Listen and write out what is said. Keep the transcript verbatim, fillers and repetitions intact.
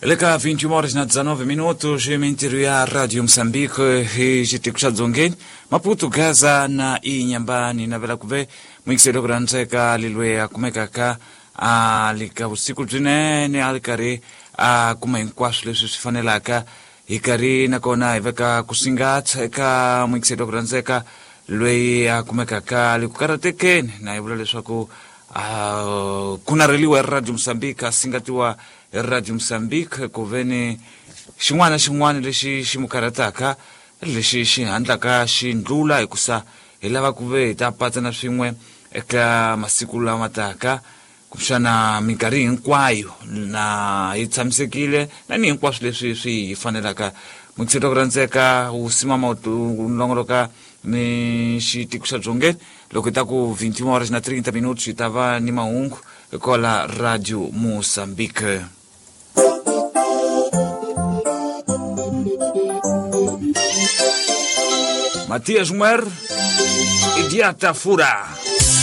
Leka vinte e uma horas na dezenove minutos, mintiru Rádio Moçambique e xitiku dzongeni Maputo, Gaza na Inhambane na vela kuve mwikiselo kurantseka lilwe akumekaka alika vusiku byinene ali karhi a kuma hinkwaswo leswi swi fanelaka hi karhi nakona hi veka ku singatsa eka mwikiselo kurantseka loyi a kumekaka ali ku karatekeni na hi vula leswaku uh, ku narheliwa hi Radio Moçambique a singatiwa hi Radio Moçambique ku veni xin'wana na xin'wana lexi xi mu karhataka lexi xi handlaka xi ndlula hikusa hi lava ku ve hi ta patsana swin'we eka masiku lama taka kumbexana minkarhi hinkwayo na hi tshamisekile na ni hinkwaswo leswi swi hi fanelaka. Mukiselo ku rhandzeka wu simama wu longoloka ni xitiko xa dzongeni loko hi ta ku vinte e uma horas na trinta minutos hi ta va ni mahungu kwala Radio Moçambique. Matias Muer, Idiata Fura.